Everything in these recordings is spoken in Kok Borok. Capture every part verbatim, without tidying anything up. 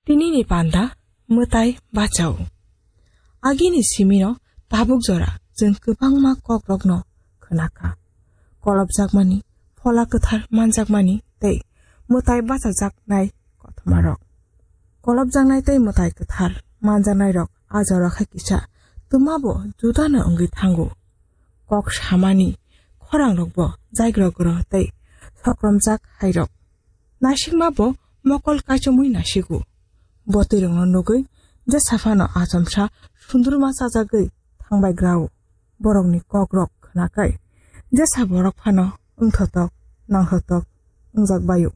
Tinini panda mwtai bachao. Agini simino tabuk jora chwng kwbangma kokrokno khwnakha. Kolopjakmani, phola kwthar manjakmani tei mwtai bachajaknai kothoma rok. Kolopjaknai tei mwtai kwthar manjaknai rok a jora khe kisa twma bo juda no wngwi thango. Kok samani khorang rok bo jaigrogro tei sokromjak hai rok. Nasikma bo mokol kaichomwi nasigo. Botwi rokno nugwi jesa phano achomsa sundurma chajagwi thangbai grao. Borokni kokrok khwnakhai jesa borok phano wngthotok nangthotok wngjak baio.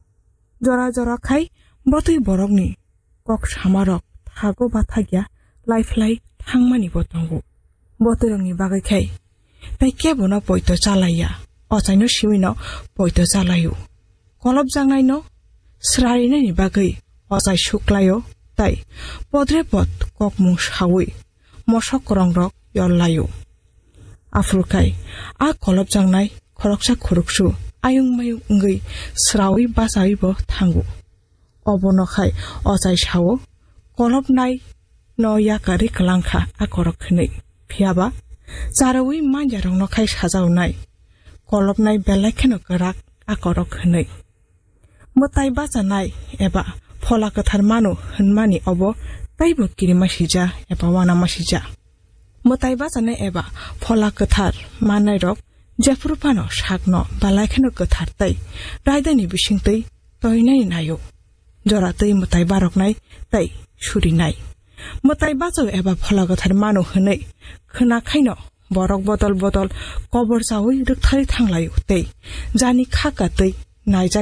Jora jora khai botwi borokni kok samarok thago bathakya laiphlai thangmani bo tongo. Botwi rokni bagwi khai tei kebono poito chalaiya, ochaino simino poito chalaio. Kolopjaknaino swrarinani bagwi ochai suklaio tei podre pod kokmung saui mosok kwrongrok yollaio. Aphuru khai a kolopjaknai khoroksa khoroksu ayung mayung wngwi swraui bachaui bo thango. Obono khai ochai sao, kolopnai no yakarwi kwlangkha a korok hwnwi. Phiyaba charaui manjarokno khai sajaonai, kolopnai belai kheno kwrak a korok hwnwi. Mwtai bachanai eba phola kwthar mano hwnmani obo teibo kirima sija eba uanama sija. Mwtai bachanai eba phola kwthar mannairok jephuru phano sakno belai kheno kwthar tei raidani bisingtwi toinani naio. Jora twi mwtai baroknai tei surinai. Mwtai bachao eba phola kwthar mano hwnwi khwna khaino borok bodol bodol kobor chaui rwktharwi thanglaio tei jani kha katwi naijak